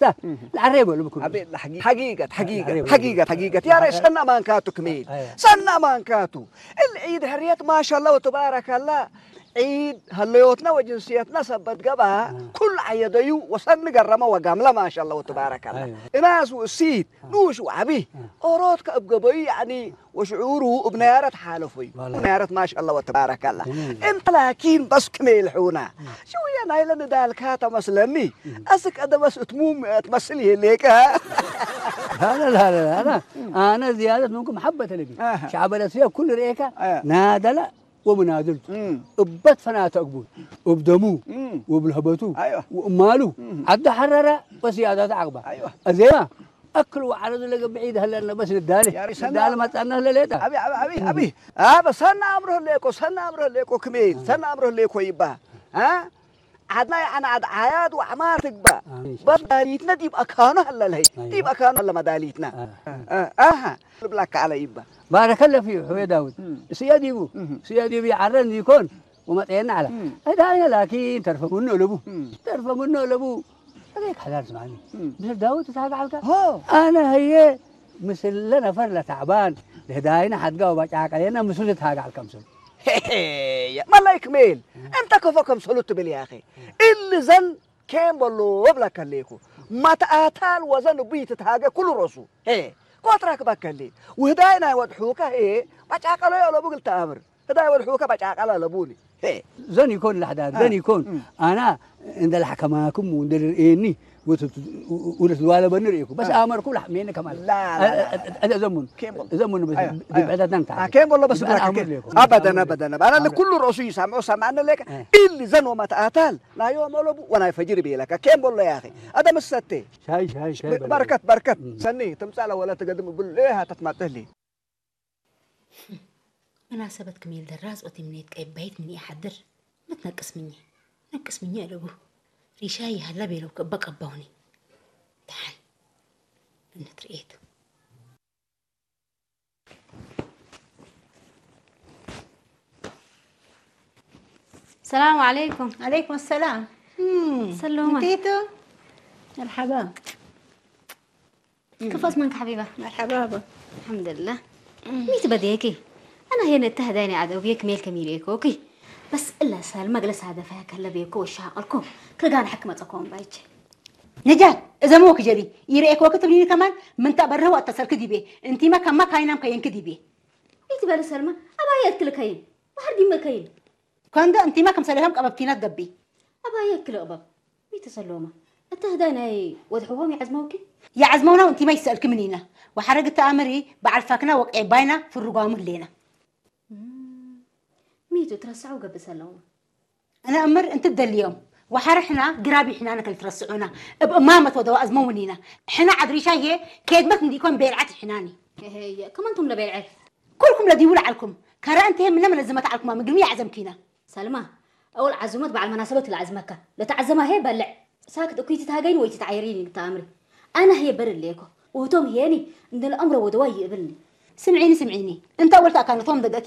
ታ፣ ላዕረይ በሉ ብኩሉ። ኣቤት፣ ሓጊ-፣ ሓጊገት፣ ሓጊገት፣ ሓጊገት፣ ሓጊገት። ያረ ሰና ማንካቱ ክሜል። ኣያ። ሰና ማንካቱ። እል ዒድ ሕርየት ማሻላ ወተባረካላ። ዒድ ሀለዮትና ወጅንስየትና ሰበት ገባ። ኩሉ ዓየደዩ ወሰኒ ገረመ ወጋምላ ማሻላ ወተባረካላ። ኣያ። እናስ ውእሲት፣ ንኡሽ ወዓቢ። ኦሮት ከእብ ገበዩ ያዕኒ ወሽዑሩ እብ ነያረት ሓለፎዩ። ዋላ። ነያረት ማሻላ ወተባረካላ። እም። እንተ ላኪን በስ ክሜል ሑና። ሽውየ ናይለ ንዳልካ ተመስለኒ። ኣስክ ኣደ በስ እትሙም ትመስል ይህሌከ። لا، لا، لا، لا، أنا، أنا زيادة منكم حبة لبي. أها. شعب الأسيا كل رئيكا أها. نادلة ومنادلته. مم. እበት ፈናተ እግቡት፣ እብ ደሙ፣ مم. ወብልህበቱ፣ أيوة. ወእማሉ፣ مم. ዓዲ ሐረረ ወስያዳት ዓቕባ። أيوة. እዜማ፣ ኣክል ወዓረዱ ለገብዒ ይድሀለና በስ ንዳለ። يا ريسنا. ንዳለ መጻና ለሌጣ። أبي، أبي، أبي، أبي. آه، بس سنة أمره ليكو، سنة أمره ليكو كميل، سنة أمره ليكو يبا. ها؟ ዓድና የዓና ዓድ ዓያድ ወዕማር ትግባእ። ኣሜን። በስ መዳሊትና ዲብ ኣካኑ ኣለልሀይ። ኣይዋ። ዲብ ኣካኑ ኣለ መዳሊትና። ኣ። እ፣ ኣሃ። ልብላካ ኣለ ይባ። ባረከለ ፊዩ ሕወየ ዳውድ። እም። ስየ ዲቡ። እም። ስየ ዲቡ ይዓረን ይኮን ወመጠየና ዓለ። እም። እዳ ኣይነ ላኪን ተርፈ ምኖ ለቡ። እም። ተርፈ ምኖ ለቡ። እገይ ካሕዳር ስማኒ። እም። ብስር ዳውድ ተሳጋዓልካ። ሆ። ኣነ ህየ ምስለ ነፈር ለታዕባን ለህዳይና ሓድጋ ወባጫ ቀሌና ምስሉ ተሳጋዓልካ ምስሉ። ሄሄ፣ መላይክ ሜል፣ እንተ ከፎ ከምሰሉ ትብል ያኸ። እልዘን ኬም በሎ እብለከ ሌኩ። መትኣታል ወዘን እቡ ይትትሃገ ኩሉ ሮሱ። ሄ፣ ኮትራ ክበከሌ። ውህዳይ ናይ ወድሑከ ሄ፣ በጫቀሎ የለቡ ግል ተኣምር። ህዳይ ወድሑከ በጫቀሎ ለቡኒ። ሄ። ዘን ይኮን ላሕዳን፣ አ፣ ዘን ይኮን። እም። ኣና እንደ ላሕከማኩም እንደ ርእየኒ ወትት-፣ ወ-፣ ወ-፣ ወደ ትዋለ በኒ ርእየኩ። በስ አ። ኣመርኩ ላሕ ሜን ከማል። ላ፣ ላ፣ ላ፣ ላ። አ-፣ አ-፣ አ-፣ ዘሙን። ኬምቦል። ዘሙን በስ ኣዮ፣ ኣዮ። ዲብዕዳት ናንካ። አ፣ ኬምቦል በስ ብኣና ብላክ ኣመር ኬ-፣ ሌኩ። ኣበደን፣ ኣመር ሌኩ። ኣበደን። ኣና ኣመር። ለኩሉ ርእሱ ይሰምዑ ሰማዕነ ሌከ። አ። ኢል ዘን ወመትኣታል ናዮ መለቡ ወናይ ፈጅር ቤለከ። ኬምቦል ያኺ። ኣደ መሰቴ። ሻይ፣ ሻይ፣ ሻይ በል። በረከት፣ በረከት። እም። ሰኒ፣ ትምጻእ ለወለ ትገድም ብል፣ እ፣ ሃተት ማጥህሊ። መናሰበት ክሜል ደራስ ኦቲ ምኔት ቀይ ባይት ምን ይሓድር ምትነቅስ ምኘ ነቅስ ምኘ ኣለቡ ሪሻ ይሃላ ቤለው ከበ ቀባውኒ ደሓን እነት ርኤት። ሰላም ዓለይኩም። ዓለይኩም ሰላም። እም፣ ሰሎማ። እንዴት? መርሓባ። ክፈት መንካ ሓቢባ። መርሓባ ኣቦ። ኣልሓምዱሊላህ። ሚቲ በድየኪ። ኣና ሄነ እተ ህዳይ ናይ ዓደውብየ ክሜል ከሚል ኤኮኪ። በስ እለ ሰልመ ግለ ሳደፈ ከለ ቤኮ ወሻቀልኮ። ክርጋን ሓክ መጸኮም ባይቼ። ነጃት፣ እዘሞ ክጀቢ። ይረኤኮ ክትብሊኒ ከማን ምንታ በረህ ወጥተ ሰልክ ዲቤ። እንቲማ ከማ ካይናም ከየንክ ዲቤ። ሚቲ በለ ሰልመ፣ ኣባየ እትልከይን። ባሕር ዲመ ከይን። ከንዶ እንቲማ ከም ሰሌሆም ቀበብ ኪናት ገቢ። ኣባየ ክልእበብ ሚተሰሎማ እተ ህዳይ ናይ ወድሕዎም ይዓዝመውኪ? ይዓዝመውና እንቲማ ይሰእልኪ ምኒና። ወሓረግ ተኣምሪ በዓል ፋክና ወቀይ ባይና ፍርጓሙ ህሌና። እም፣ ሚቱ ትረስዐው ገብእ ሰለውማ። እነ እምር እንት ደልዮም ወሓረ ሕና ግራቢ ሕናነ ከልትረስዑና እብ እማመት ወደዋ ኣዝመውኒና። ሕና ዓድሪሻ የ ኬድመት እንዲኮን ቤልዓት ሕናኒ። እሄየ፣ ከመንቱም ለቤልዐ? ኩልኩም ለዲቡ ለዓልኩም። ከረ እንተ ምነ መለዝመት ዓልኩማ ምግብኒ ያዕዘምኪና። ሰልማ፣ ኣወል ዓዙመት በዓል መናሰበት ለዓዝመካ። ለተዓዘማ ሄ በልዕ። ሳክት እኩይ ትትሃገይን ወይ ትትዓየሪን እዩ ትኣምሪ። ኣነ ህየ በር እሌኮ። ውህቶም ህየኒ እንደ ለኣምሮ ወደዋ ይእብልኒ። ስምዒኒ፣ ስምዒኒ። እንተ ኣወል ተኣካነቶም ደገኪ